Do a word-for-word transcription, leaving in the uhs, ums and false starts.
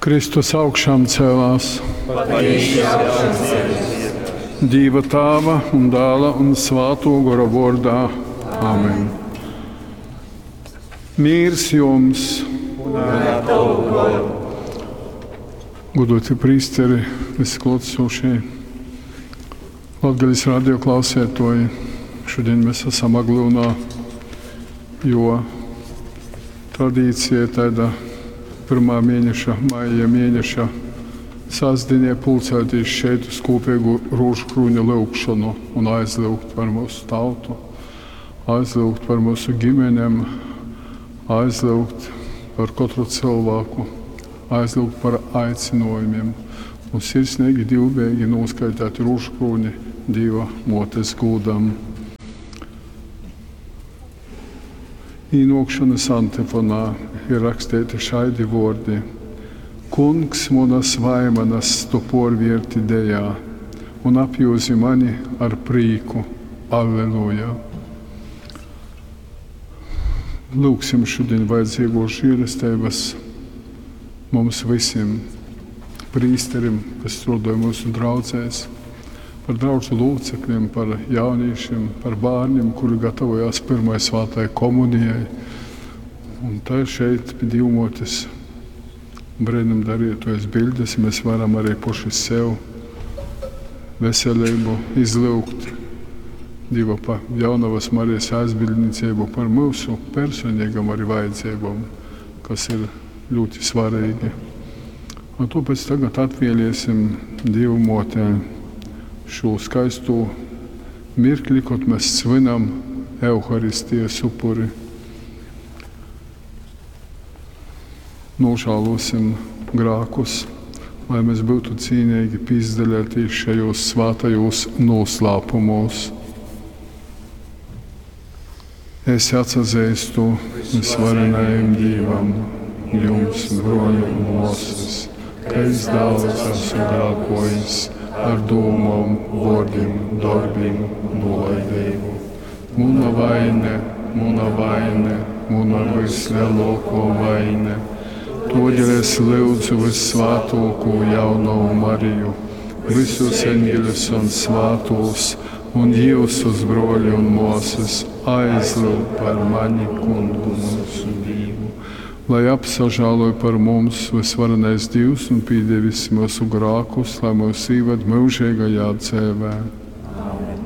Kristus augšām cēlās. Patīši augšām cēlies. Dīva Tāva un Dāla un Svātō Gora vōrdā. Amen. Mīrs jums! Un ar tavu goru. Godoti prīsteri, visi klātesošie, Latgales radio klausētoji. Šodien mēs esam Aglyunā, jo tradīcija ir tāda pirmā mēneša, maija mēneša sastdienē pulcēties šeit uz kopīgu rožu krūņa lūgšanu un aizlūgt par mūsu tautu, aizlūgt par mūsu ģimenēm, aizlūgt par katru cilvēku, aizlūgt par aicinājumiem un sirsnīgi divbēgi noskaitāt rožu krūni Dieva motes gūdam. Īnokšanas antifonā ir rakstīti šādi vārdi: Kungs, manas vaimanas tu porvierti dejā un apjūzi mani ar prīku. Alleluja! Lūksim šodien vajadzīgo žēlestības mums visiem, prīsterim, kas strādāja mūsu draudzēs, par draudžu locekļiem, par jauniešiem, par bērniem, kuri gatavojās pirmai svētai komunijai. Un tā šeit pie Dievmotes brīnumdarītojas bildes mēs varam arī paši sev veselību izlūgt. Dieva pa jaunavas Marijas aizbildniecību par mūsu personīgam arī vajadzībām, kas ir ļoti svarīgi. Un tāpēc tagad atvēlēsim Dievu motē šo skaisto mirkli, kad mēs svinam Euharistijas upuri. Nožēlosim grēkus, lai mēs būtu cīnīgi pīzdaļāties šajos svētajos noslēpumos. Es atsazīstu visvarenajam Dievam, jums, broļi un māsas, ka es daudz esmu grēkojis ar domām, vārdiem, darbiem, nolaidību. Muna vaine, muna vaine, muna vislielāko vaine. Todēļ es lūdzu vissvētāko jaunavu Mariju, visus eņģeļus un svētos, un jūsus broļi un māsas aizlūg par mani kungu mūsu Dievu. Lai apsažāloj par mums visvarenais Dievs un piedevis mūsu grākus, lai mūs ieved mūžīgajā dzīvē.